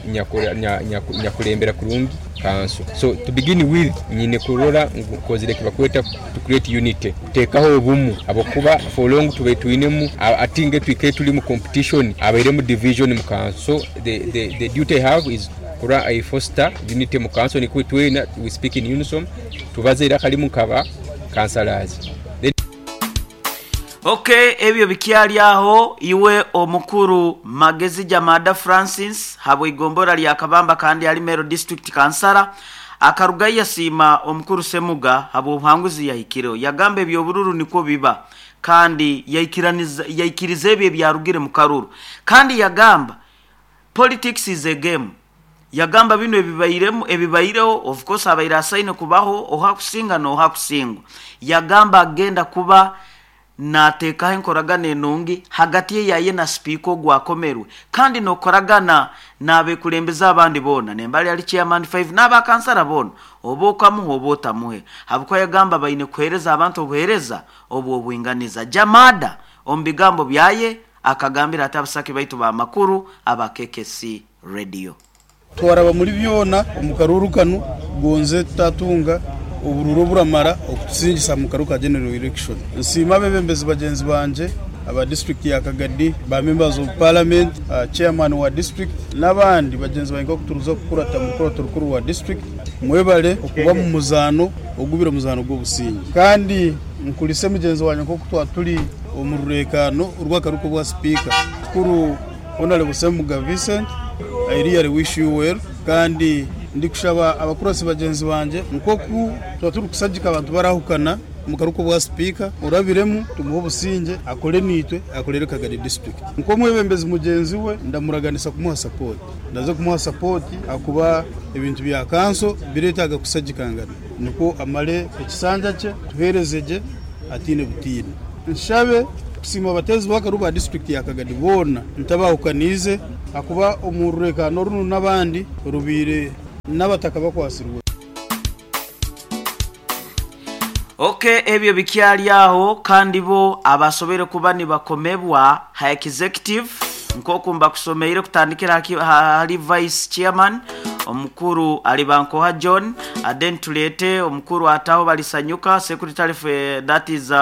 nyakulembera kurungi kanso. So to begin with nyine kurora ngu nkozire ekibakweta to create unity, kuteekaho obumu habwokuba for long tubaire twinemu ati nge twikaire tuli mu competition habairemu division mu kanso. So the duty I have is kurora I foster unity mu kanso nikwo twena we speak in unison tubaze eiraka limu nkaba councillors. Then. Ok ebyo bikyali aho, iwe omukuru Magezi Jamada Francis habw'eigombora lya Kabamba kandi ali Meru District Kansara akarugayo yasiima omukuru Ssemuga habw'obuhanguzi yahikireho. Yagamba eby'obururu nikwo biba kandi yaikiriza ebyo ebyarugire mu karuru. Kandi yagamba politics is a game. Yagamba binu ebibairemu ebibaireho of course abaire asaine kubaho oha kusinga n'oha kusingwa. Yagamba agenda kuba naateekaho enkoragana enungi hagati ye yaye na sipiika ogu akomerwe kandi n'okukoragana n'abekulembeze abandi boona nembali ali chairman 5 n'abakansara boona oba okamuha oba otamuhe habwokuba yagamba baine kuheereza abantu obuheereza obw'obwinganiza. Jamada omu bigambo byaye akagambira ati abasaki baitu b'amakuru aba KKC Radio. Twaraba muri byona omu karuuru kanu gonze tutatunga oburuuru oburamara okutusingisa omu karuuru ka General Election. Nsiima abebembezi bagyenzi bangye aba disiturikiti ya Kagadi, ba members of parliament, chairman wa disiturikiti n'abandi bagyenzi bangye nk'oku turuza kukurata omu rukurato rukuru rwa disiturikiti. Mwebale okuba omu muzaano ogubire omuzaano gw'obusingye. Kandi nkurise mugyenzi wangye nk'oku twaba turi omu rureekaano rw'akaruuru k'obwa sipiika. Kikuru Honarebo Ssemuga Vincent, I really wish you well kandi ndikushaba abakurasi bagyenzi bangye nk'oku tuba turikushagika abantu barahukana. omu karugu k'obwa sipiika orabiremu tumuhe obusingye akore naitwe akorere Kagadi disiturikiti. Nk'omwebembezi mugyenzi we ndamuraganisa kumuha sapooti. Ndaza kumuha sapooti ahakuba ebintu bya kanso bireetaaga kusagikangana nikwo amare ekisanja kye tuheereze gye ataine butiini. Nshabe kusiima abateezi b'akaru ba disiturikiti ya Kagadi boona ntabahukaniize ahakuba omu rureekaano runu n'abandi rubaire n'abataka bakwatsirwe. Ok ebyo bikyali aho kandi bo abasoboire kuba nibakomebwa ha executive nkoku mbakusomeire kutandikira hali vice chairman omukuru Alibankoha John then tuleete omukuru Ataho Balisanyuka secretary for that is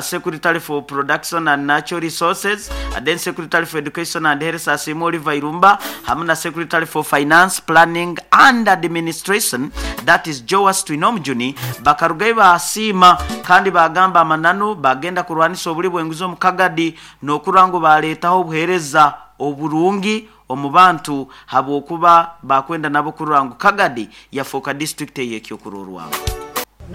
secretary for production and natural resources then secretary for education and health Asiimwe Oliver Irumba hamu na secretary for finance planning and administration that is Joas Twinomujuni bakarugayo baasiima kandi baagamba amananu bagenda kurwanisa obuli bw'enguzi omu Kagadi n'okurora ngu baaleetaho obuheereza oburungi omu bantu habwokuba bakwenda nabo kurora ngu Kagadi yafooka disiturikiti ey'ekyokurorwaho.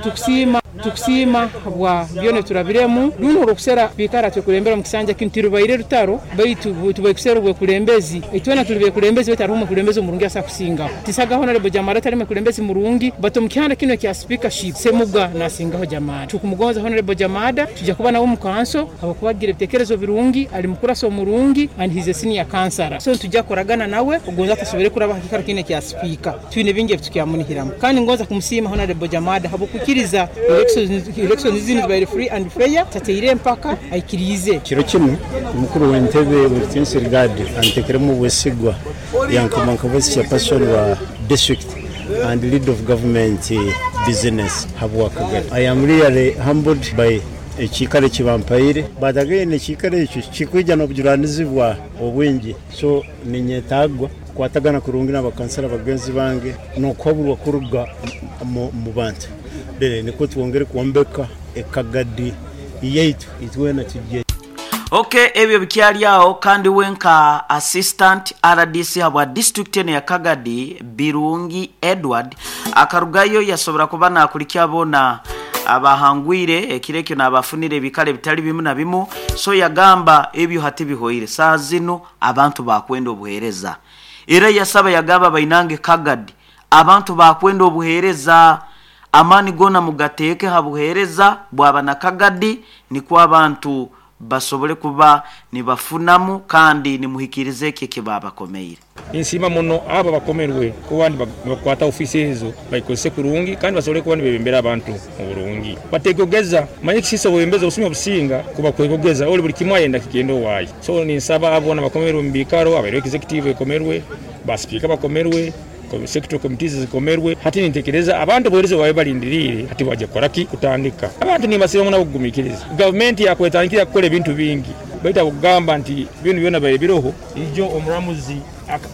Tukusiima tukusiima habwa byona ebiturabiremu. Runu orw'okusera kwikara twekulembera omu kisanja kinu tirubaire rutaro baitu tubaire kusera obwekulembezi. Itwena tuli bekulembezi baitu haroho omwekulembezi omurungi asobora kusingaho. Tisaga Honorable Jamara tali mwekulembezi murungi but omu kihanda kinu ekya speakership Semuga nasingaho Jamada. Tukumugonza Honorable Jamada, tujja kuba nawe omu kanso habwokuba agira ebitekerezo birungi, ali mukurasi omurungi and he's a senior councillor. So nitujja kukoragana nawe ogonza tasobore kuraba ha kikaro kinu ekya speaker. Twine bingi ebitukyamunihiramu. Kandi ngonza kumusiima Honorable Jamada habw'okwikiriza elections zinu zibaire free and fair, tateire empaka, aikiriize. Kiro kinu, omukuru w'entebe W'ekitiinisa Rigadi antekeremu obwesigwa yankoma nka Vice Chairperson wa District and Leader of Government Business habwa Kagadi. I am really humbled by ekiikaro eki bampaire but again ekiikaro ekyo kikwija n'obujunaanizibwa obwingi so ninyetaagwa kukwatagana kurungi n'abakansara bagenzi bange n'okuhaburwa kuruga omu bantu then nikwo twongere kwombeka Ekagadi yaitu itwena tugye. Ok ebyo bikyali aho kandi we nka Assistant rdc habwa disiturikiti enu eya Kagadi Birungi Edward akarugayo yasobora kuba nakulikya boona abahangwire ekiro ekyo nabafunira ebikaro ebitali bimu na bimu so yagamba ebyo hati bihoire saaha zinu abantu bakwenda obuhereza era yasaba yagamba bainange Kagadi abantu bakwenda obuhereza amaani goona mugateeke ha buhereza bwaba na Kagadi nikwo abantu basobole kuba nibafunamu kandi nimuhikiriza ekyo eki baabakomeire. Ninsiima muno abo abakomerwe kuba nibakwata ofiisi ezo bagikozese kurungi kandi basobole kuba nibebembera abantu mu burungi. Bategogeza, manya ekisiisa obwebembezi obusumi obusinga kuba kwegogeza ori buri kimwe ayenda kigende owaaye. So ninsaba abo boona abakomerwe omu biikaro, abaire executive ekomerwe, ba sipiika bakomerwe, sectoral committees zikomerwe, hati nintekereza abantu obuheereza obu babaire barindiriire hati bwaija kukora ki? Kutandika. Abantu nimbasiima muno ahabw'okugumiikiriza. Gavumenti yakwetandikire kukora ebintu bingi baitu ahabw'okugamba nti binu byona bibaire biroho, ijo omuramuzi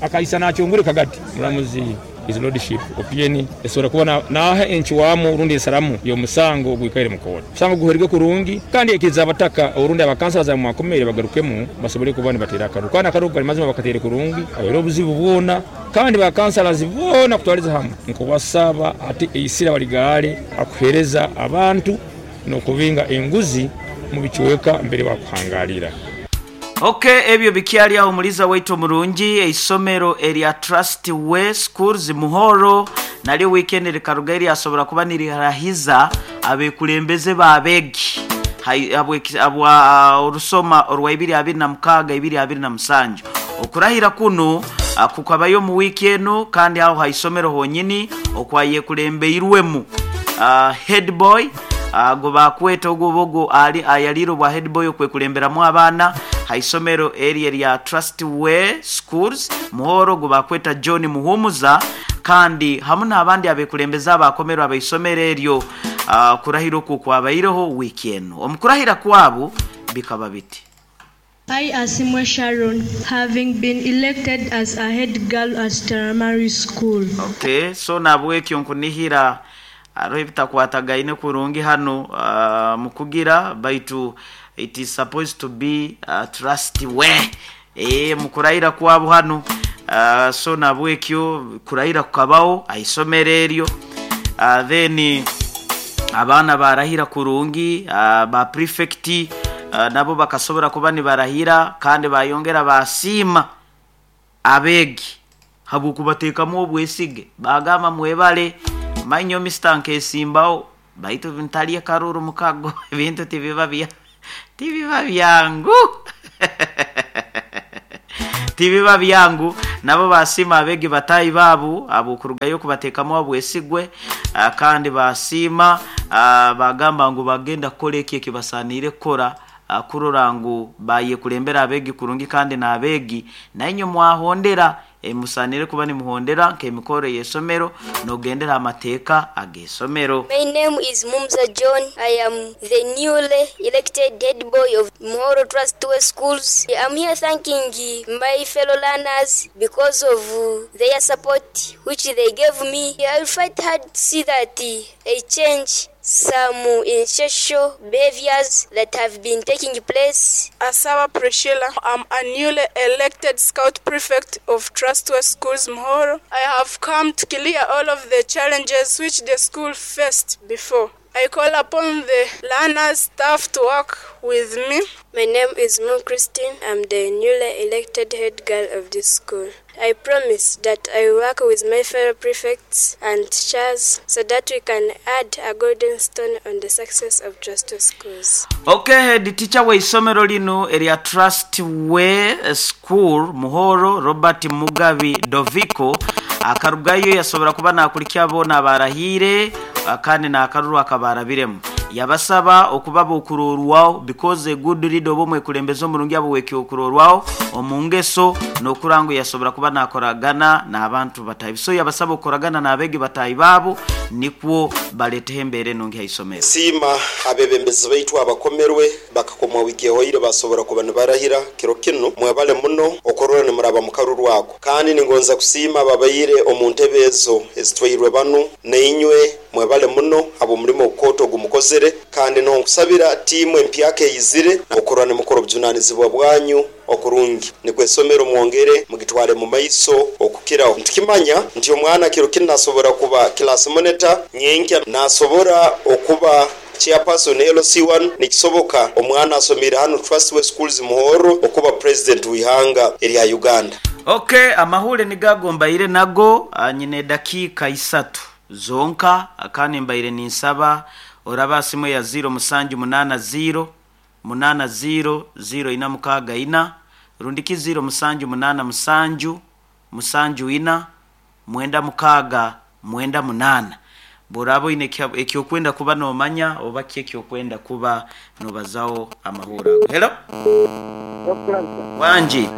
akaisa nakyongure kagati. Omuramuzi His Lordship Opieni esobora kuba naaha encwamu rundi ensaramu y'omusango ogwikaire mu kooti. Omusango guhwerwe kurungi kandi yaikiriza abataka orundi abakansala aba mwakomeire bagarukemu basobole kuba nibateera akaruru kandi akaruru kali mazima bakateire kurungi habaire obuzibu bwona kandi ba councillors boona kutwaliza hamu nkubasaba hati eisira baligaale hakuhereza abantu n'okubinga enguzi mu bicweka mbere bakuhangalira. Ok ebyo bikyali aho omuliza waitu omurungi, eisomero erya Trust Way Schools Muhoro naryo wiikendi rikarugayo ryasobora kuba nirirahiza abekulembeze b'abeegi habwa orusoma orwa ibiri abiri na mukaaga ibiri abiri na musanju. Okurahira kunu kukabayo omu wiiki enu kandi aho ha isomero honyini okwayekulembeirwemu Headboy Ago baakweta ogwo oba ogwo ali ayaliire obwa headboy okwekulemberamu abaana ha isomero eryo erya Trust Way Schools Muhoro ogu baakweta John Muhumuza kandi hamu n'abandi abekulembeze abaakomerwe abaisomero eryo. Okurahira okwo kwabaireho wiiki enu. Omu kurahira kwabu bikaba biti. I Asimwe Sharon having been elected as a head girl at Taramari School. Ok, so nahabwekyo nkunihira haroho ebitakwatagaine kurungi hanu mukugira baitu it is supposed to be trust we eeh mukurahira kwabu hanu so nahabwekyo kurahira kukabaho ahaisomero eryo then. Abaana barahira kurungi, ba prefect nabo bakasobora kuba nibarahira kandi bayongera basiima abeegi habw'okubateekamu obwesige. Bagamba mwebale, manya Mister nkesimbaho baitu ntalye karuru mukago ebintu tibiba bya tibiba byangu. Tibiba byangu. Nabo basiima abeegi bataahi baabo habw'okurugayo kubateekamu obwesigwe kandi basiima bagamba ngu bagenda kukora eki ekibasaaniire kukora kurora ngu bayekulembera abeegi kurungi kandi n'abeegi nainywe mwahondera ebimusaaniire kuba nimuhondera nk'emikoro ey'eisomero n'okugendera amateeka ag'eisomero. My name is Mumza John. I am the newly elected head boy of Muhoro Trust Way Schools. I'm here thanking my fellow learners because of their support which they gave me. I will fight hard to see that I change some social behaviors that have been taking place. Asawa Priscilla. I'm a newly elected scout prefect of Trustway Schools Muhoro. I have come to clear all of the challenges which the school faced before. I call upon the learners, staff to work with me. My name is Moon Christine. I'm the newly elected head girl of this school. I promise that I will work with my fellow prefects and teachers so that we can add a golden stone on the success of Trustway Schools. Ok head teacher w'eisomero linu erya Trust Way School Muhoro Robert Mugabi Doviko akarugayo yasobora kuba nakulikya boona abarahiire kandi n'akaruru akabarabiremu. Yabasaba okuba ab'okurorwaho because a good leader oba omwekulembeze omurungi aba ow'ekyokurorwaho omu ngeso n'okurora ngu yasobora kuba nakoragana n'abantu bataahi. So yabasaba okukoragana n'abeegi bataahi baabo nikwo baleeteho embeera enungi ha isomero. Nsiima abebembezi baitu abakomerwe bakakomwa wiiki ehoire basobora kuba nibarahira kiro kinu. Mwebale muno okurora nimuraba mu karuru ako. Kandi ningonza kusiima ababaire omu ntebe ezo ezitwairwe banu nainywe mwebale muno habw'omulimo ogukooto ogumukozere. Kandi nonkusabira tiimu empyaka eyizire okurora nimukora obujunanizibwa bwanyu okurungi nikwo esomero mwongere mugitwale mu maiso okukiraho. Nitukimanya nti omwana kiro kinu nasobora kuba class monitor, nyenkya nasobora okuba chairperson LC1. Nikisoboka omwana asomeire hanu Trustway Schools Muhorro okuba president w'ihanga erya Uganda. Ok, amahuure nigo ago mbaire nago, nyine edakiika isatu zonka kandi mbaire ninsaba orabe aha simu eya ziiro musanju munaana ziiro, munaana ziiro, ziiro ina mukaaga ina, rundiki ziiro musanju munaana musanju, musanju ina, mwenda mukaaga, mwenda munaana. Bw'oraaba oine eki orikwenda kuba noomanya oba ki eki orikwenda kuba noobazaho amahuure ago. Hello. Wangi.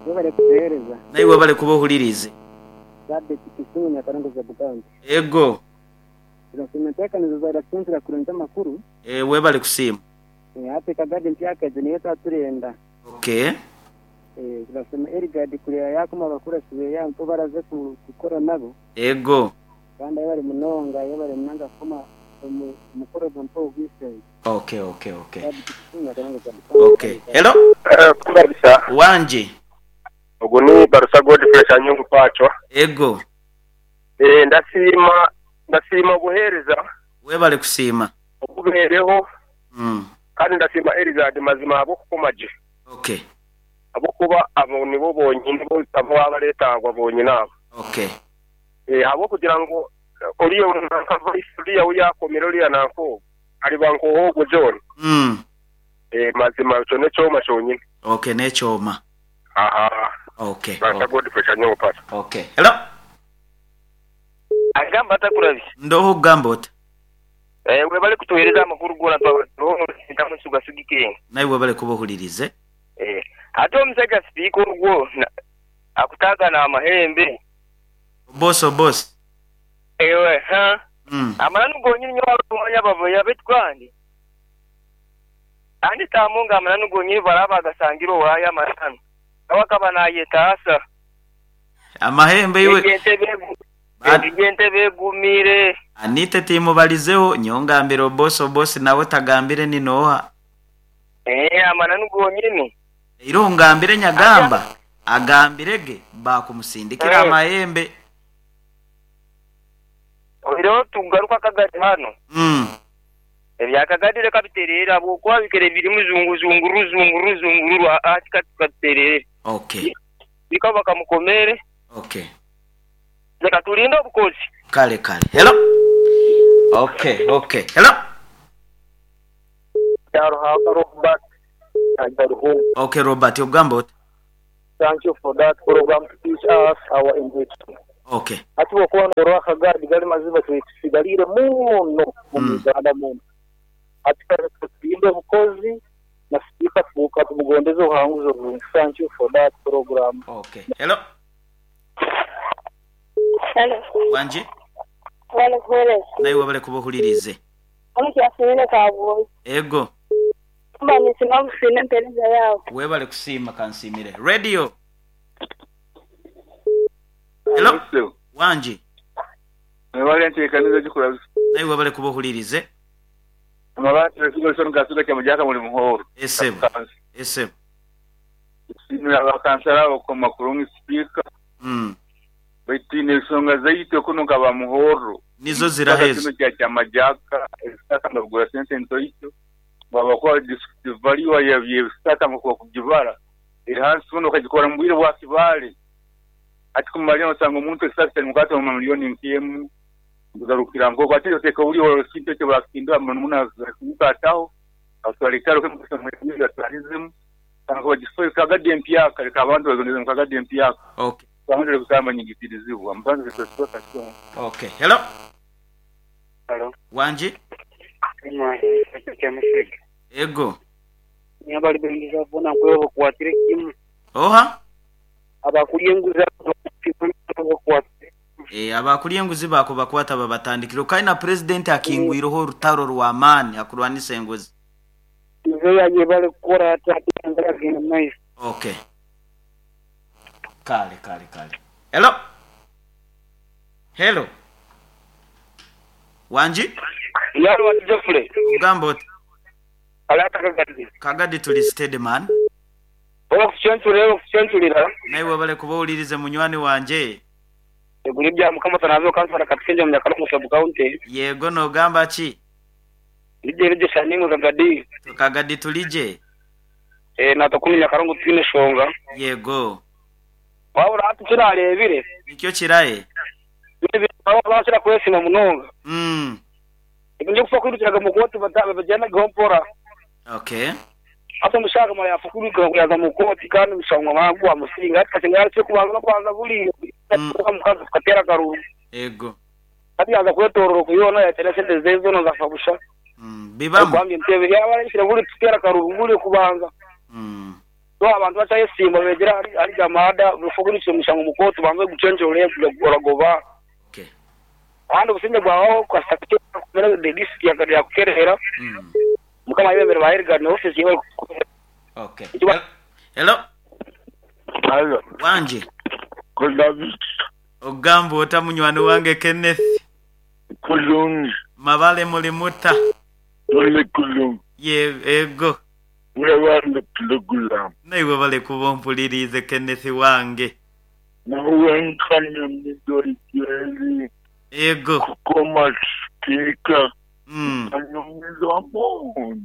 Webale kutuhereza. Naiwe webale kuba ohuririize. Sabiti Kisumu Nyakarongo Sub County. Ego. Turasiima enteekaniza eza kurungi amakuru. Eeh webale kusiima. Eeh hati Kagadi empyaka egyo niyo twaba turenda. Okay. Eeh turasiima Eligard kureba yakoma abakurasi beye aho nibo baraze kukora nabo. Ego. Kandi ayebare munonga ayebare munonga kukoma omukoro gwe mpa ogw'eishenye. Okay okay okay. Sabiti Kisumu Nyakarongo Sub County. Okay. Hello. Kubarisa. Wangi. Ogu ni Barusa Godfrey Sanyungu Pacwa. Ego. Eeh ndasiima ndasiima obuheereza. Webale kusiima. Obubeereho. Kandi ndasiima Erizadi mazima ahabw'okukoma gye. Okay. Ahabw'okuba abo nibo bonyini abu abareetaagwa bonyini abo. Okay. Eeh ahabw'okugira ngu oriya nanka Vice oriya ou yaakomire oriya nanka ogwo ariba nk'owoogwo John. Eeh mazima ekyo n'ekyoma kyonyini. Okay n'ekyoma. Ahaa. Okay. Pastor Godfrey Kanyomo Pastor. Okay. Hello. Agamba ata Kurabye? Ndoho okugamba ota? Webale kutuhereza amakuru gona twaba turoho nosintamu nitugasigika. Naiwe webale kuba ohuririze. Hati omusaija sipiika ogwo akutaagana amahembe. Obosi obosi. Ewe ha. Amananu gonyini nyowe abakumanya baboya baitu kandi kandi taamu nga amananu gonyini baraaba bagasangire owaayo amananu nawe akaba nayetaasa. Amahembe iwe. Egyo entebe egumire. Anite timubalizeho nyowe ngambire obosi obosi nawe tagambire ni nooha. Eeh amananu gonyini. Iroho ngambire nyagamba agambire ge baakumusindikira amahembe. Oihireho tugaruka akagari hanu. Ebya Kagadi leka bitereere habwokuba bikaire birimu zunguzungururu zungururu zungururu aa ati ka bitereere. Okay. Sipiika bakamukomeere. Okay. Leka tulinde obukozi. Kale kale. Hello. Okay, okay. Hello. Kyaruhanga Robert Ajaruho. Okay Robert ogamba ota? Thank you for that program to teach us our in history. Okay. Hati bwokuba norora akagaadi gali mazima tusigaliire muno omu Uganda munu. Hati katulinde obukozi na sipiika katumugondeze obuhanguzi oburungi. Thank you for that program. Okay. Hello. Hello. Wangi. Webale kuwereza. Naiwe webale kuba ohuliriize. Omu Kyasimire Kabwoyi. Ego. Mba ninsiima busiima empereza yaawe. Webale kusiima kansiimire. Radio. Hello. Wangi. Webale enteekaniza ejikura. Naiwe webale kuba ohuliriize. Amabaati Wilson Kasuga Kyamujaka muli Muhoro. Esebo. Esebo. Tusiimire abakansala abo okukoma kurungi sipiika. Baitu twine ensonga zaitu kunu nka ba Muhoro. Nizo ziraha Ekisaka ezo? kinu kya Kyamajaka ebisaka nga bigura sente ntoito bwabakuba disitulikiti value y'ebisaka nkoku bakugibara eri hansi muno okagikora mu bwire bwa Kibale. Hati kumalira nosanga omuntu ekisaka kyalimukwata omu mamilioni nk'emu kugarukira nk'oku ate oteeka buli ekintu ekyo bakihindura muno muno ataho atwara ekitaro atwarizemu Kagadi empyaka leka abantu bagondeze mu Kagadi empyaka. Okay. Abantu kusamba nyigitirizibwa. Okay. Hello. Hello. Wangi. Ego. Ni abali benguzi bona nkweba bakwatire kimu. Oha? Abakulya enguzi bakwatire. Eh, abakulya enguzi bakubakwata babatandikire. Kale na Pulezidenti akingwireho orutaro rw'amaani akurwanisa enguzi. Mzee ayebale kukora ati ate enjara agenda mu maiso. Ok. Kale, kale, kale. Hello? Hello? Wangi? Yalo wati Geoffrey. Ogamba oti? Ali ata Kagadi? Kagadi tuli steady man. Webale kutucencurira, webale kutucencurira. Naiwe webale kuba owulirize munywani wangye. Eguru ebya Mukama Tanabe Kansala Katusingye omu Nyakalongo Sub County. Yego nogamba ki? Ligye ligye sha nimwe Kagadi. Kagadi tuligye. Eeh natwe kunu Nyakalongo titwine shonga. Yego. Wabura hati ekinarebire. Nikyo kirahe? Bakira kwesiima munonga. Ebintu by'okufa kwirukiraga omu kooti babigyendageho mpora. Okay. Hati omushaija akamara yaafa kwiruka yaaza mu kooti kandi omushango gwamara gwamusinga. Hati kasinga yaarekire kubanza n'okubanza buriya omukazi tukateera akaruuru. Ego. Hati yaaza kwetoorora oku yoona yaateera esente ze zoona zaafa busha. Bibamu. Arikuhambya entebe yaaba arekire buri tuteera akaruuru buri kubanza. So abantu bakyayesiimba beegyere ahari Jamada before kwirukira omushango omu kooti obanze ogucwenkye oragoba. Kandi obusingye bwabaho kasita kumera the district yakuterera. Mukama ayebembere ba Elgard ne office yebale kukuterera. Okay. Hello. Halo. Wangi. Kulabi. Ogamba ota munywani wange Kenneth? Kulungi. Mabale muli muta? Tuli kulungi. Ye, ego. Webale pulogulaamu. Naiwe webale kuba ompuliriize Kenneth wange. Nawe nkanyumirwa gyeri Ego. kukoma sipiika nkanyumirwa muno.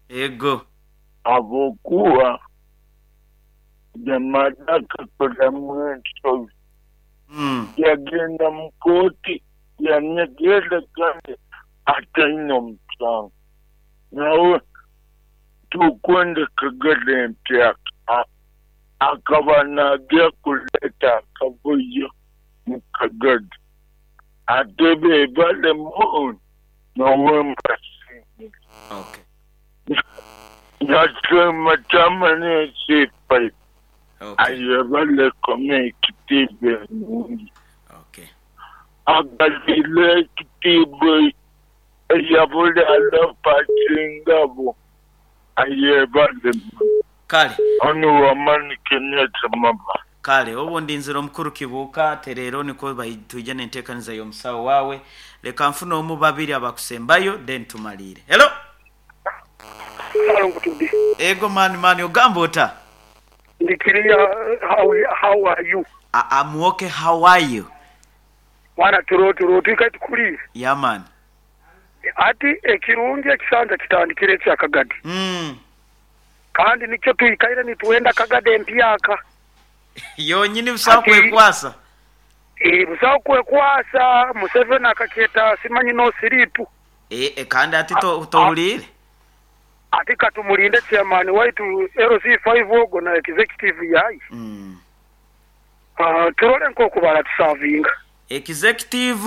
Ego. Habwokuba Jamada akakoramu ensobi. Yagenda mu kooti yanyegerra kandi ataine omusango. Nawe Tukwenda Kagadi empyaka akaba naagya kuleeta akavuyo mu Kagadi. Ate bebale muno nyowe mbasiimire. Nasiima Chairman LC5 ayebale koma ekitiibwa enungi. Agaliire ekitiibwa eyabuli alofa asingagho ayebale muno. Kale. Onu wamani Kenneth Maba. Kale obundi nzira omukuru Kibuuka tereera nikwo twije n'enteekaniza y'omusawo waawe. Leka nfune omu babiri abakusembayo then tumaliire. Hello. Hello Nkutubi. Ego man man ogamba ota? Ndi kiriya how are you? Am ok how are you? Mwana turo turo twikaire tukuriire. Yeah man. Ati ekirungi ekisanja kitandikire ekya Kagadi. Kandi nikyo twikaire nitwenda Kagadi empyaka. Yonyini busaho kwekwasa. Busaho kwekwasa, Museveni akakyeta simanyi no sleep. Kandi ati tohuliire? Ati katumulinde chairman waitu LC5 ogwo na executive yaye. Turole nkoku baratusavinga. Executive.